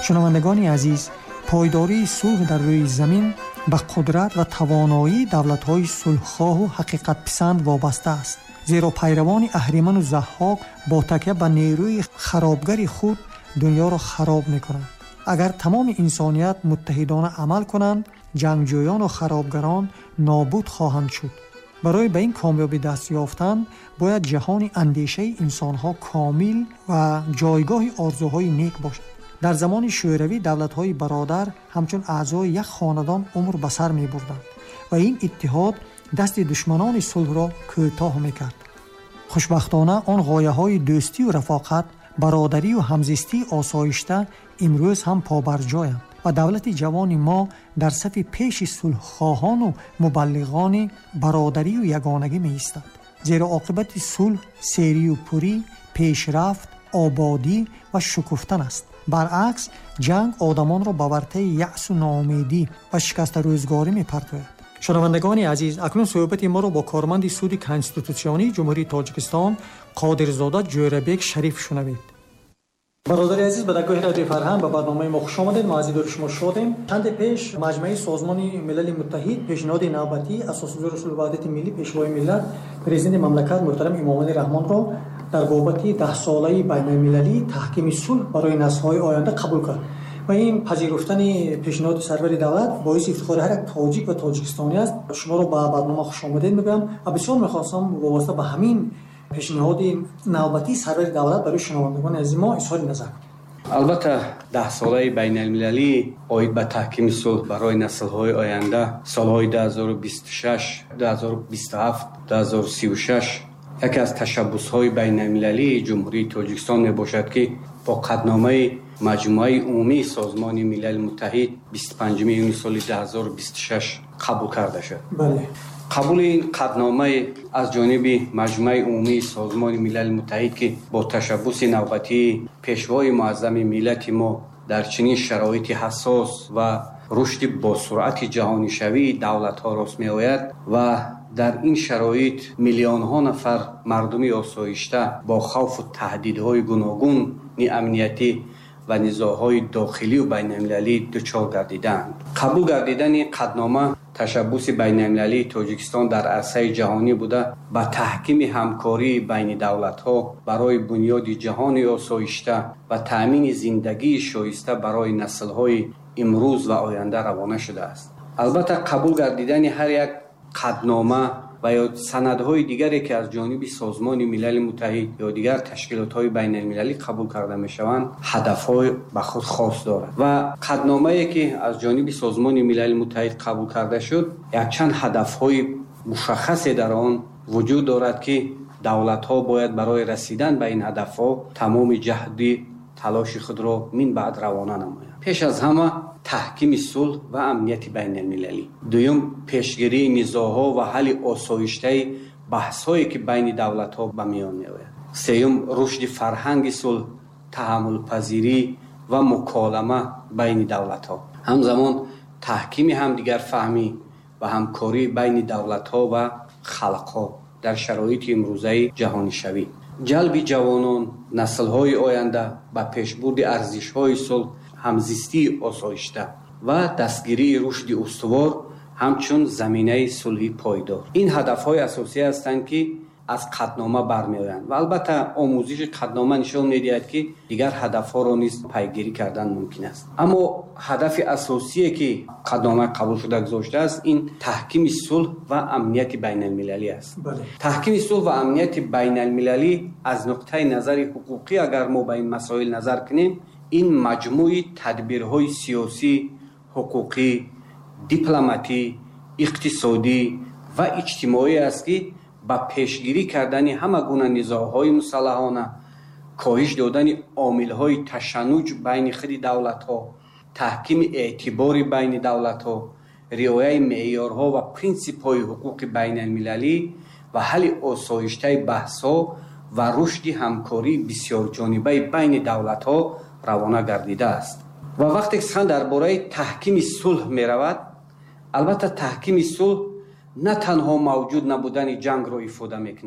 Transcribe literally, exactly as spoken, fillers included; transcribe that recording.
Шунавандагони азиз, пойдории сулҳ дар рӯи замин ба қудрат ва тавоноии давлатҳои сулҳхоҳу ҳақиқатписанд вобаста аст. Зеро пайравони Аҳриману Заҳҳок бо такя ба нерӯи харобгари худ дунёро хароб мекунанд. Агар тамоми инсоният муттаҳидона амал кунанд, ҷангҷӯёну харобгарон нобуд хоҳанд шуд. Барои ба ин комёбӣ даст ёфтан бояд ҷаҳони андешаи инсонҳо комил ва ҷойгоҳи орзуҳои нек бошад. Дар замони Шӯравӣ давлатҳои бародар ҳамчун аъзои як хонадон умр ба сар мебурданд ва ин иттиҳод дасти душманони сулҳро кӯтоҳ мекард. Хушбахтона, он ғояҳои дӯстию рафоқат, бародарию ҳамзистии осоишта имрӯз ҳам побарҷоянд ва давлати ҷавони мо дар сафи пеши сулҳхоҳону мубаллиғони бародарию ягонагӣ меистад. Зеро оқибати сулҳ серию пурӣ, пешрафт, ободӣ ва шукуфтан аст. Баръакс, ҷанг одамонро ба вартаи яъсу ноумедӣ ва шикастарӯзгорӣ мепартояд. Шунавандагони азиз, акнун суҳбати моро бо корманди суди конститутсионии Ҷумҳурии Тоҷикистон Қодирзода Ҷӯрабек Шариф шунавед. Бародари азиз, ба дастгоҳи Радиои Фарҳанг, ба барномаи мо хуш омадед. Мо аз дидори шумо шодем. Чанде пеш Маҷмаи Созмони Милали Муттаҳид пешниҳоди навбатии Асосгузори сулҳу ваҳдати миллӣ, Пешвои миллат, Президенти мамлакат муҳтарам Эмомалӣ Раҳмонро дар бобати даҳсолаи байналмилалии таҳкими сулҳ барои наслҳои оянда қабул кард. Ва ин пазируфтани пешниҳоди сарвари давлат боиси ифтихори ҳар як тоҷик ва тоҷикистонӣ аст. Шуморо ба барнома хушомадед мегӯям ва бисёр мехостам вобаста ба ҳамин пешниҳоди навбатии сарвари давлат барои шунавандагони азизи мо изҳори назар кунед. Албатта, даҳсолаи байналмилалӣ оид ба таҳкими сулҳ барои наслҳои оянда, солҳои ду ҳазору бисту шаш, ду ҳазору бисту ҳафт, ду ҳазору сию шаш, яке аз ташаббусҳои байналмилалии Ҷумҳурии Тоҷикистон мебошад, ки бо қатъномаи Маҷмӯаи Умумии Созмони Милали Муттаҳид бисту панҷуми июни соли ду ҳазору бисту шаш қабул карда шуд. Бале. Қабули ин қатъномаи аз ҷониби Маҷмӯаи Умумии Созмони Милали Муттаҳид, ки бо ташаббуси навбатии Пешвои муаззами миллати мо дар чунин шароити ҳассос ва рушди босуръати ҷаҳонишавии давлатҳо рост меояд ва дар ин шароит миллионҳо нафар мардуми осоишта бо хавфу таҳдидҳои гуногуни амниятӣ ва низоъҳои дохилию байналмилалӣ дучор гардидаанд, қабул гардидани қатънома ташаббуси байналмилалии Тоҷикистон дар арсаи ҷаҳонӣ буда, ба таҳкими ҳамкории байни давлатҳо барои бунёди ҷаҳони осоишта ва таъмини зиндагии шоиста барои наслҳои имрӯз ва оянда равона шудааст. Албатта, қабул гардидани ҳар як қатънома ва ё санадҳои дигаре, ки аз ҷониби Созмони Милали Муттаҳид ё дигар ташкилотҳои байналмилалӣ қабул карда мешаванд, ҳадафҳои ба худ хос дорад ва қатъномае, ки аз ҷониби Созмони Милали Муттаҳид қабул карда шуд, якчанд ҳадафҳои мушаххасе дар он вуҷуд дорад, ки давлатҳо бояд барои расидан ба ин ҳадафҳо тамоми ҷаҳди талоши худро минбаъд равона намоянд. Пеш аз ҳама, таҳкими сулҳ ва амнияти байналмилалӣ. Дуюм, пешгирии низоъҳо ва ҳалли осоиштаи баҳсҳое, ки байни давлатҳо ба миён меояд. Сеюм, рушди фарҳанги сулҳ, таҳаммулпазирӣ ва муколама байни давлатҳо. Ҳамзамон, таҳкими ҳамдигарфаҳмӣ ва ҳамкорӣ байни давлатҳо ва халқҳо дар шароити имрӯзаи ҷаҳонишавӣ, ҷалби ҷавонон, наслҳои оянда ба пешбурди арзишҳои сулҳ, ҳамзистии осоишта ва дастгирии рушди устувор ҳамчун заминаи сулҳи пойдор. Ин ҳадафҳои асосӣ ҳастанд, ки аз қатънома бармеоянд ва албатта, омӯзиши қатънома нишон медиҳад, ки дигар ҳадафҳоро низ пайгирӣ кардан мумкин аст. Аммо ҳадафи асосие, ки қатънома қабулшуда гузоштааст, ин таҳкими сулҳ ва амнияти байналмилалӣ аст. Таҳкими сулҳ ва амнияти байналмилалӣ аз нуқтаи назари ҳуқуқӣ, агар мо ба ин масоил назар кунем, ин маҷмӯи тадбирҳои сиёсӣ, ҳуқуқӣ, дипломатӣ, иқтисодӣ ва иҷтимоӣ аст, ки ба пешгирӣ кардани ҳама гуна низоъҳои мусаллаҳона, коҳиш додани омилҳои ташаннуҷ байни худи давлатҳо, таҳкими эътибори байни давлатҳо, риояи меъёрҳо ва принсипҳои ҳуқуқи байналмилалӣ ва ҳалли осоиштаи баҳсҳо ва рушди ҳамкории бисёрҷонибаи байни давлатҳо равона гардидааст. Ва вақте сухан дар бораи таҳкими сулҳ меравад, албатта, таҳкими сулҳ на танҳо мавҷуд набудани ҷангро ифода мекунад.